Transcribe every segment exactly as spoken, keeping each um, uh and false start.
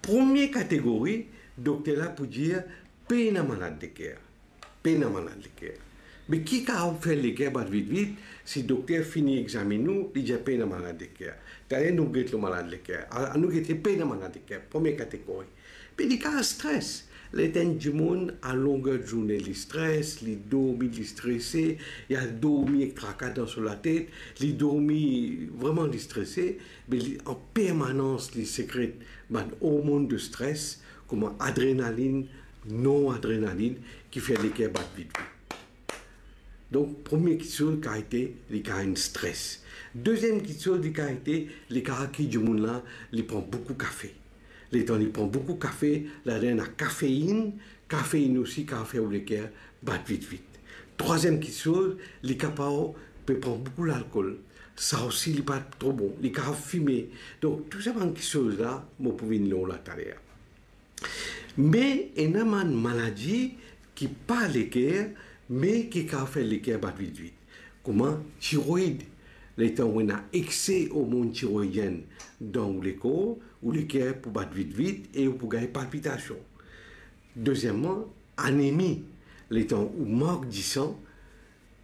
Premie kategori, dokter la pou dir pena malad leker. Pena malad leker. Me ki kapav fer leker bat vit vit? Si dokter fini examinn ou, li dir pena malad leker. Taler nou get lor malad leker. Al, anou gete pena malad leker. Premie kategori. Pe li kapav stres. Lerla enn dimoun a longer zourne li stres, li dormi, li strese, li al dormi ek traka dan so latet, li dormi, vreman li strese, me li an permanans li sekret bann ormonn de stres, kouma adrenalinn, noradrenalinn, ki fer leker bat vit vit. Donk, premie kiksoz kapav ete, li kapav enn stres. Deziem kiksoz li kapav ete, li kapav ki dimoun la, li pran boukou kafe. Letan li pran boukou kafe, ladan ena kafeinn, kafeinn osi kapav fer ou leker bat vit vit. Trwaziem kiksoz, li kapav pe pran boukou lalkol. Sa osi li pa tro bon, li kapav fime. Donk, tou sa bann kiksoz la, mo pou vinn lor la taler. Me ena bann maladi ki pa leker, me ki kapav fer leker bat vit vit. Kouma tiroid. Letan ou ena ekse ormonn tiroidienn dan ou lekor, ou leker pou bat vit vit e ou pou gagn palpitasion. Dezieman, anemi. Letan ou mank disan,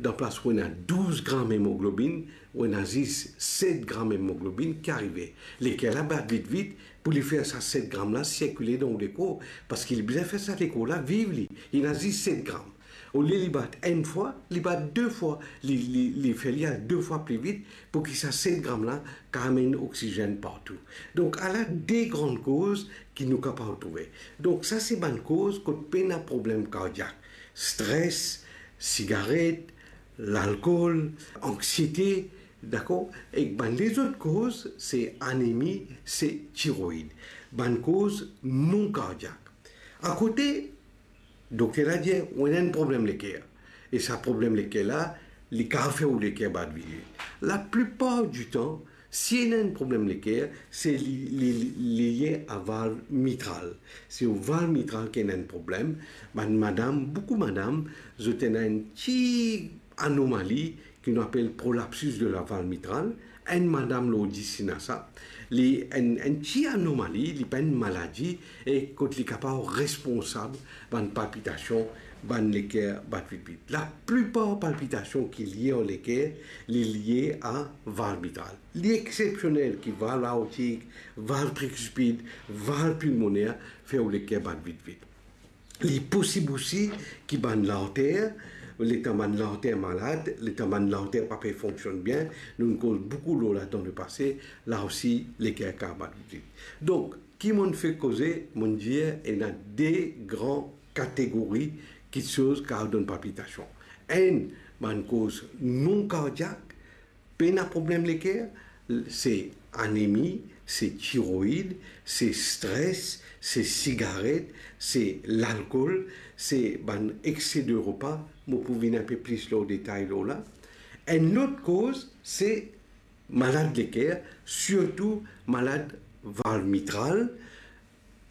dan plas ou ena douz gram emoglobinn, ou ena zis set gram emoglobinn, ki arive? Leker la bat vit vit, pou li fer sa set gram la sirkile dan ou lekor, parski li bizin fer sa lekor la viv li, li ena zis set gram. Olie li bat enn fwa, li bat de fwa, li, li, li fer li al de fwa pli vit, pou ki sa set gram la kapav amenn oksizenn partou. Donk, ala de gran koz ki nou kapav trouve. Donk, sa se bann koz kot pena problem kardiak. Stres, sigaret, lalkol, anksiete, dakor? Ek bann lezot koz, se anemi, se tiroid. Bann koz non kardiak. Akote, dokter la dir, ou ena enn problem leker. E sa problem leker la, li kapav fer ou leker bat vit vit. Laplipar ditan, si ena enn problem leker, se li, li, li, li lie a valv mitral. Se ou valv mitral ki ena enn problem. Bann madam, boukou madam, zot ena enn ti anomali ki nou apel prolapsus de la valve mitrale. Enn madam lor dis ena sa. Li enn, enn ti anomali, li pa enn maladi, e kot li kapav responsab bann palpitasion, bann leker bat vit vit. Laplipar palpitasion ki lie ar leker, li lie a valv mitral. Li exepsionel ki valv aortik, valv trikuspid, valv pilmoner fer ou leker bat vit vit. Li posib osi ki bann larter, letan bann larter malad, letan bann larter pa pe fonksionn bien, nou koz boukou lor la dan lepase, la osi leker kapav bat vit vit. Donk, ki monn fek koze, monn dir ena de gran kategori kiksoz kapav donn palpitasion. Enn, bann koz non kardiak, pena problem leker, se anemi, se tiroid, se stres, se sigaret, se lalkol, se bann ekse de repa, mo pou vinn inpe plis lor detay lor la. Enn lot koz, se malad leker, sirtou malad valv mitral,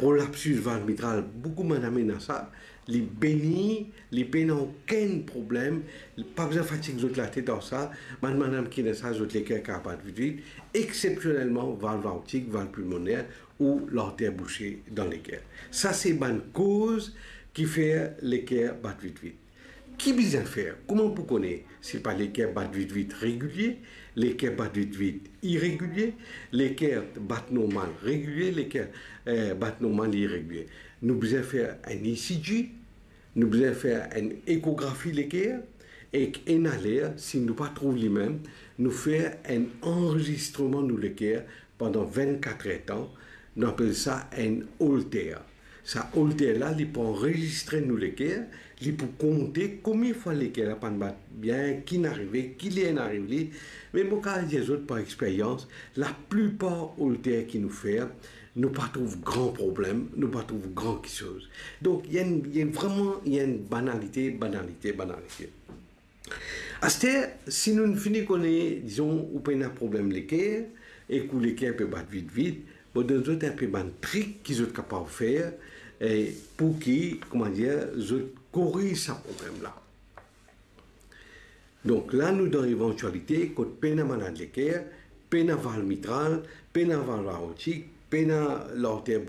prolapsus valv mitral, boukou madam ena sa, li beni, li pena okenn problem, li pa bizin fatig zot latet ar sa, bann madam ki ena sa, zot leker kapav bat vit vit, exepsionelman valv aortik, valv pilmoner ou larter bouse dan leker. Sa se bann koz ki fer leker bat vit vit. Ki bizin fer? Kouma pou kone si pa leker bat vit vit regilie, leker bat vit vit iregilie, leker bat normal regilie, leker, eh, bat normal iregilie? Nou bizin fer enn E C G, nou bizin fer enn ekografi leker, ek ena ler, si nou pa trouv limem, nou fer enn anrezistreman nou leker pandan vennkat er tan, nou apel sa enn Holter. Sa Holter la, li pou anrezistre nou leker, li pou konte konbien fwa leker la pa'nn bat bien, ki'nn arive, ki ler inn ariv li. Me mo kapav dir zot par experyans, laplipar Holter ki nou fer, nou pa trouv gran problem, nou pa trouv gran kiksoz. Donk, li enn, li enn vreman, li enn banalite, banalite, banalite. Aster, si nou fini kone, dizon, ou pena problem leker, ek ou leker pe bat vit vit, mo donn zot inpe bann trik ki zot kapav fer, eh, pou ki, koumadir, zot koriz sa problem la. Donk la, nou dan evantialite kot pena malad leker, pena valv mitral, pena valv aortik, pena larter